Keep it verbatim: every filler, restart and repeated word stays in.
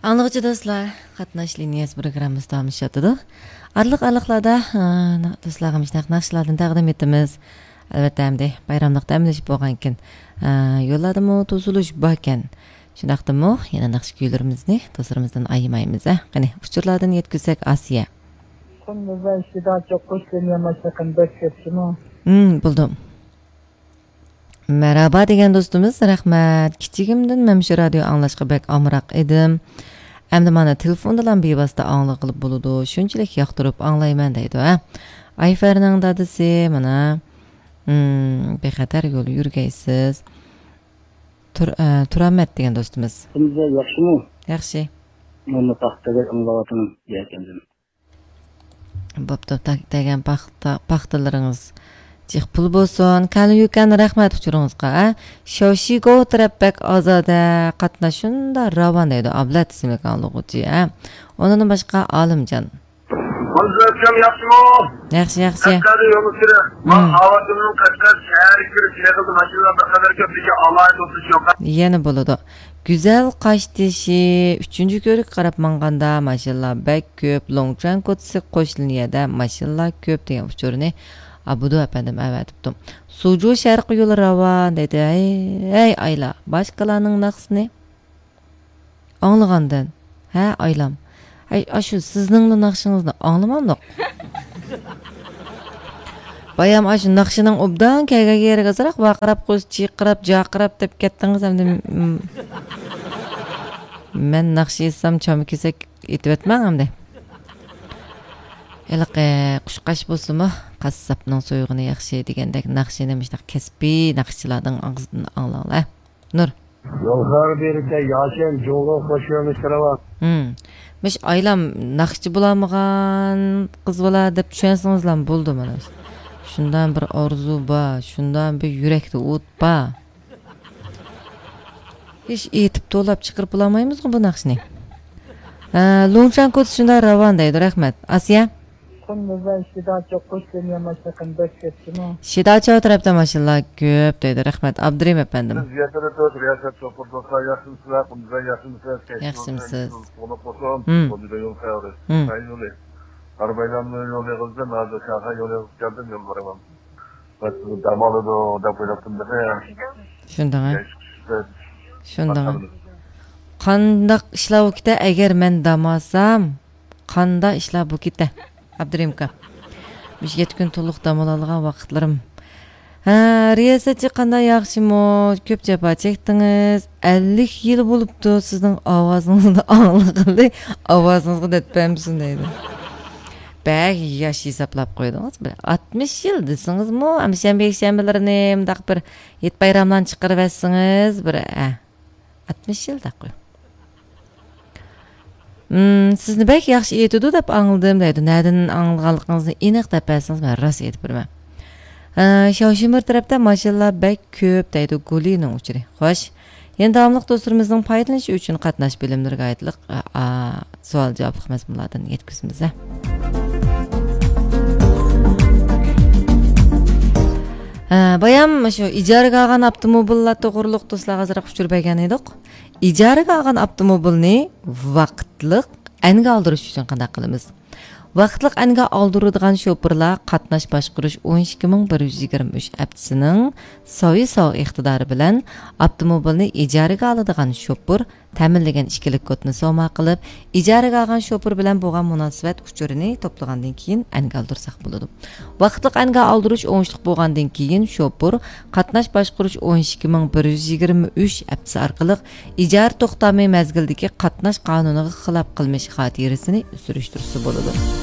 ئاڭلىغۇچى دوستلار، قاتناش لىنىيەسى پروگراممىسى داۋاملىشىۋاتىدۇ. ئارىلىق-ئارىلىقلاردا، ئا، دوستلارغا مۇشۇنداق ناخشىلاردىن تەقدىم ئېتىمىز. ئەلۋەتتە، ئەمدى بايراملىق دەم ئېلىش بولغانكەن، ئا، يوللاردىمۇ توسۇلۇش باركەن. شۇنداقتىمۇ يەنە ناخشا كۈيلىرىمىزنى دوستلىرىمىزدىن ئايىمايمىز، ھە؟ قېنى، ئۇچۇرلاردىن يەتكۈزسەك، ئاسىيە. ھىم، بولدى. مەرھابا دېگەن دوستىمىز، رەھمەت. كىچىكىمدىن مەن مۇشۇ رادىيو ئاڭلاشقا بەك ئامراق ئىدىم. ئەمدى مانا تېلېفوندىلا بىۋاسىتە ئاڭلىغىلى بولىدۇ. شۇنچىلىك ياقتۇرۇپ ئاڭلايمەن دەيدۇ، ھە. ئايفەرنىڭ دادىسى مانا، ھىم، بىخەتەر يول يۈرگەيسىز. تۇر-، ئە، تۇرامەت دېگەن دوستىمىز. كۈندۈزە ياخشىمۇ؟ ياخشى. مانا تاختىدا ئاڭلاۋاتىمەن يەكەندىن. بوپتۇ، تا-، دېگەن پاختا-، پاختىلىرىڭىز جىق پۇل بولسۇن. كەلىن يۈكەن، رەھمەت ئۇچۇرىڭىزغا، ھە. شاۋشىگو تەرەپ بەك ئازادە، قاتناش شۇنداق راۋان دەيدۇ. ئابلەت ئىسىملىك ئاڭلىغۇچى، ھە. ئۇنىڭدىن باشقا ئالىمجان. مۇنزۇر ئاكام ياخشىمۇ؟ ياخشى، ياخشى. قەشقەردە يولغا كىرە. مەن ھىم. ئاۋازىمنىڭ قەشقەر شەھەرگە كىرىپ يېقىندا ماشىنىلار بىر قەدەر كۆپ، لېكىن ئالاھىدە ئولتۇرۇش يوق. يەنە بولىدۇ. گۈزەل قاشتېشى، ئۈچىنچى كۆۋرۈككە قاراپ ماڭغاندا ماشىنىلار بەك كۆپ، لوڭچۈەن كوچىسى قوش لىنىيەدە ماشىنىلار كۆپ دېگەن ئۇچۇرنى ئابدۇ ئەپەندىم ئەۋەتىپتۇ. سۇجۇ شەرقىي يولى راۋان دەيدۇ. ھەي، ھەي ئايلا، باشقىلارنىڭ ناخشىسىنى ئاڭلىغاندىن. ھە، ئايلام. ھەي، ئاشۇ سىزنىڭلا ناخشىڭىزنى ئاڭلىمامدۇق؟ بايام ئاشۇ ناخشىنىڭ ئوبدان كەلگەن يېرىگە ئازراق ۋارقىراپ قويسا، چىرقىراپ، جارقىراپ دەپ كەتتىڭىز ئەمدى. م-، مەن ناخشا ئېيتسام، چاما كېسەك ئېتىۋەتمەڭ ئەمدى. ھېلىقى قۇشقاچ بولسىمۇ، قاسساپنىڭ سويغىنى ياخشى دېگەندەك، ناخشىنى مۇشۇنداق كەسپىي ناخشىچىلارنىڭ ئاغزىدىن ئاڭلاڭلار. نۇر. يول خارابىلىكتە ياشەن جۇڭگو قوشۇنى كىرىۋال. ھىم. مۇش ئايلام ناخشىچى بولالمىغان قىز بالا دەپ چۈشەنسىڭىزلا بولدى مانا. شۇنداق بىر ئارزۇ بار، شۇنداق بىر يۈرەكتە ئوت بار. ھېچ ئېيتىپ توۋلاپ چىقىرىپ بولالمايمىزغۇ بۇ ناخشىنى. ھە، لۇڭچان كوتىسى شۇنداق راۋان دەيدۇ، رەھمەت. ئاسىيە؟ شىداچا تەرەپتە ماشىنىلار كۆپ دەيدۇ. رەھمەت، ئابدۇرېھىم ئەپەندىم. بىز يەتتە تۆت رىياسەت شوپۇر دوستلار، ياخشىمۇسىلەر؟ قۇمزاي ياخشىمۇسىلەر؟ ياخشىمىسىز؟ قۇتلۇق بولسۇن. ھىم. بۇ جۈدە يول خەۋىرى. ھىم. سەي يولى. ئاربايلامنى يول يېغىزدىن، ھازىر شاڭخەي يول يېغىز كەلدىم، يول بارىمەن. بەس، دەم ئالىدۇ دەپ ئويلاپتىم بىخى. شۇنداق، ھە؟ شۇنداق، ھە؟ قانداق ئىشلار بولۇپ كېتە، ئەگەر مەن دەم ئالسام؟ قاندا ئىشلار بۇ كېتە، ئابدۇرېھىم ئاكا. مۇشۇ يەتتە كۈن تولۇق دەم ئالالىغان ۋاقىتلىرىم. ھە، رىياسەتچى قانداق، ياخشىمۇ؟ كۆپ جاپا چەكتىڭىز. ئەللىك يىل بولۇپتۇ سىزنىڭ ئاۋازىڭىزنى ئاڭلىغىلى، ئاۋازىڭىزغا دەرد بەرمىسۇن دەيدۇ. بەك ياش ھېسابلاپ قويدىڭىز. بىر ئاتمىش يىل دېسىڭىزمۇ، ھەمشەنبە، يەكشەنبىلىرىنى مۇنداق بىر ھېيت بايراملارنى چىقىرىۋەتسىڭىز، بىر، ھە. ئاتمىش يىل دەپ قوي. مم، سىزنى بەك ياخشى ئېيتىدۇ دەپ ئاڭلىدىم دەيدۇ. نەدىن ئاڭلىغانلىقىڭىزنى ئېنىق دەپ بەرسىڭىز، مەن راست ئېيتىپ بېرىمەن. ئە، شاۋشىمىر تەرەپتە ماشىنىلار بەك كۆپ دەيدۇ. گۇلىنىڭ ئۇچۇرى. خوش. يەنە داۋاملىق دوستلىرىمىزنىڭ پايدىلىنىشى ئۈچۈن قاتناش بىلىملىرىگە ئائىتلىق، ئە، ئا، سوئال جاۋابلىق مەزمۇنلاردىن يەتكۈزىمىز، ھە. ھە، بايام شۇ ئىجارىگە ئالغان ئاپتوموبىللار توغرۇلۇق دوستلارغا ئازراق ئۇچۇر بەرگەن ئىدۇق. ئىجارىگە ئالغان ئاپتوموبىلنى ۋاقىتلىق ئەنگە ئالدۇرۇش ئۈچۈن قانداق قىلىمىز؟ ۋاقىتلىق ئەنگە ئالدۇرىدىغان شوپۇرلار قاتناش باشقۇرۇش ئون ئىككى مىڭ بىر يۈز يىگىرمە ئۈچ ئەپچىسىنىڭ ساۋى ساۋ ئىقتىدارى بىلەن ئاپتوموبىلنى ئىجارىگە ئالىدىغان شوپۇر تەمىنلىگەن ئىككىلىك كودنى سوما قىلىپ، ئىجارىگە ئالغان شوپۇر بىلەن بولغان مۇناسىۋەت ئۇچۇرىنى توپلىغاندىن كېيىن ئەنگە ئالدۇرساق بولىدۇ. ۋاقىتلىق ئەنگە ئالدۇرۇش ئوڭۇشلۇق بولغاندىن كېيىن، شوپۇر قاتناش باشقۇرۇش ئون ئىككى مىڭ بىر يۈز يىگىرمە ئۈچ ئەپچىسى ئارقىلىق ئىجارە توختامى مەزگىلىدىكى قاتناش قانۇنىغا خىلاپ قىلمىش خاتىرىسىنى سۈرۈشتۈرسە بولىدۇ.